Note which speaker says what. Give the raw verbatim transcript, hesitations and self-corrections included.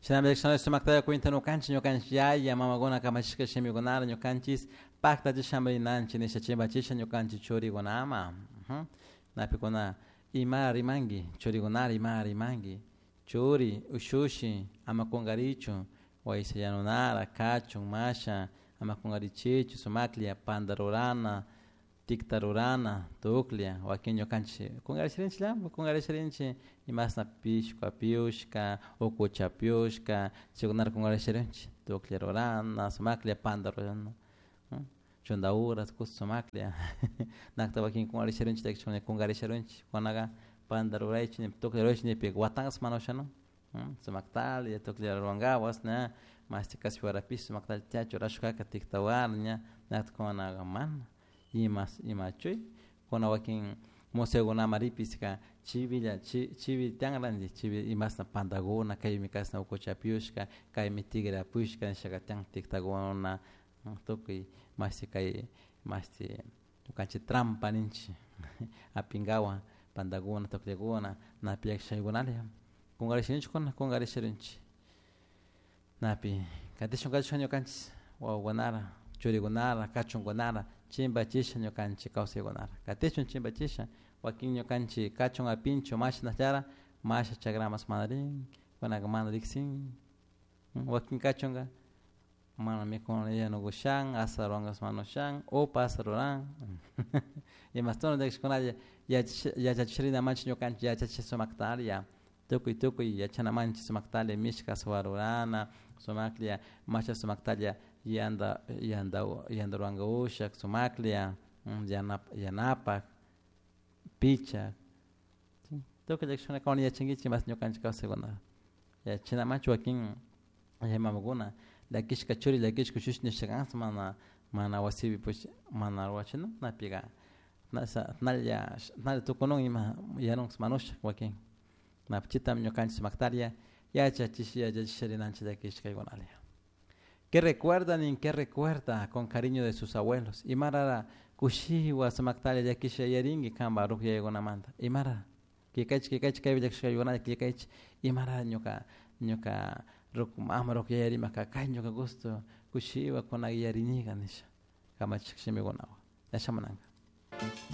Speaker 1: Shinami sumaktalla cuenta ñukanchik ñukanchik yaya mamakuna kamachishka shimikunara ñukanchis paktachisha rinanchik nisha chimpachisha ñukanchik churikunaman. Napikuna ima rimanki churikunara ima rimanki churi ushushi ama kunkarichu waysa yanunara kachun masha ama kunkarichichu sumaklla panta rurana tikta rurana tuklla wakin ñukanchik kunkarisharinchik kunkarisharinchik imashna pishku apiushka ukucha apiushka chaykunata kunkarisharinchik tuklla rurana sumaklla panta rurana chunta horas kushka sumaklla nakta wakin kunkarisharinchik kunkarisharinchik kunaka panta ruraychik tuklla ruraychik nipika watanka mana ushanun sumaktalla tuklla rurankapak ña mashti kaspi warapish sumaktalla tiachun churashkaka tikta wara ña nakta kunaka mana ima ima chuy kuna wakin museokunaman ripishka chivilla chivi tiyanranchik chivi imashna pantakuna kaymi kashna ukucha apiushka kaymi tigre apiushka nishaka tiyan tiktakuna tukuy mashti kay mashti ñukanchik trampa ninchik apinkawan pantakuna tukllakuna napi llakishaykunalla kunkarisharinchik kuna kunkarisharinchik napi katishun katishun ñukanchik wawakunara churikunara kachunkunara chimpachisha ñukanchik kawsaykunara katishun chimpachisha wakin ñukanchik kachun apinchu mashnallara masha chakramas mana rin kunaka mana riksin wakin kachunka mana mikuna yanukushan asaruankas mana ushan upa asaruran imashtono llakishkunalla yachachishrina manchik ñukanchik yachachisha sumaktalla tukuy tukuy yachana manchik sumaktalla mishka asua rurana sumaklla masha sumaktalla yanta yanta yanta ruranka ushak sumaklla yanap yanapak pichak tukuy llakishkuna yachankichik mas ñukanchik kawsaykuna yachanamanchik wakin mamakuna llakishka churi llakishka ushushi nishka mana mana wasipi pues mana ruwachina napika nalla nalla tukunun ima yanun manusha wakin napi chitami ñukanchik sumaktalla yachachish yachachisha rinanchik llakishkaykunalla. ¿Qué recuerdan y qué recuerda con cariño de sus abuelos? Imarara kushiwa sumaktalla llakisha yarinki kanpak rukyayakunamanta imara killkaychik killkaychik kaypi llakishkaykunalla killkaychik imara ñuka ñuka ruku mama ruku yaya rimaka kay ñuka gusto kushiwa kunaka yarinika nisha kamachik shimikunawan yashamunanka.